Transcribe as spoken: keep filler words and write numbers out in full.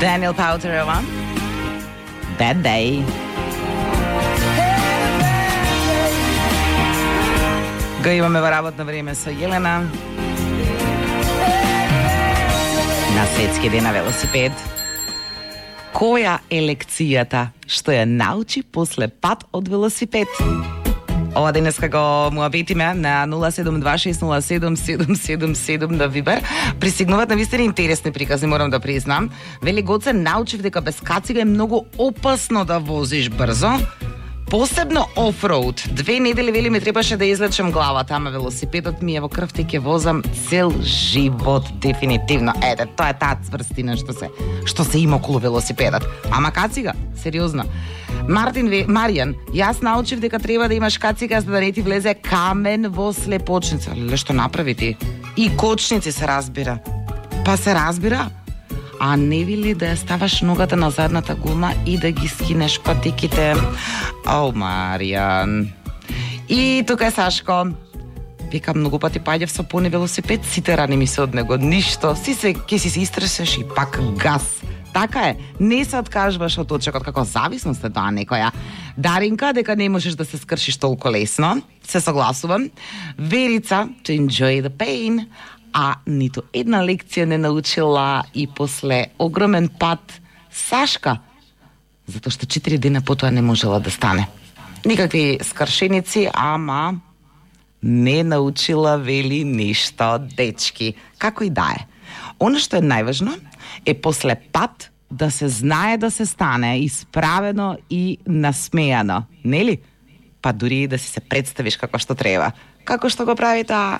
Daniel Powter, Bad Day. Го имаме во работно време со Јелена. На светски ден на велосипед. Која е лекцијата што ја научи после пат од велосипед? Ова денеска го муабетиме на нула седум два шест нула седум седум седум седум на Вибер. Присигнуваат на вистина интересни приказни, морам да признам. Вели Гоце, научив дека без кацига е многу опасно да возиш брзо. Посебно офроуд. Две недели вели ми требаше да излечем главата, ама велосипедот ми е во крвта и ќе возам цел живот дефинитивно. Ете, тоа е таа цврстина што се што се има околу велосипедот. Ама кацига, сериозно. Мартин ве, Маријан, јас научив дека треба да имаш кацига за да не ти влезе камен во слепочница. Леле, што направи ти? И кочници се разбира. Па се разбира. А не ви ли да ја ставаш ногата на задната гума и да ги скинеш патиките? О, Маријан. И тука е Сашко. Вика, многу пати паѓав со пони велосипед, сите рани ми се од него. Ништо, си се, ке си се истресеш и пак газ. Така е, не се откажуваш од точекот, како зависност е тоа некоја. Даринка, дека не можеш да се скршиш толку лесно, се согласувам. Верица, to enjoy the pain. А ниту една лекција не научила и после огромен пат Сашка, затоа што четири дена потоа не можела да стане. Никакви скршеници, ама не научила вели ништо, дечки. Како и да е. Оно што е најважно е после пат да се знае да се стане исправено и насмејано, нели? Па дури да си се представиш како што треба. Како што го прави таа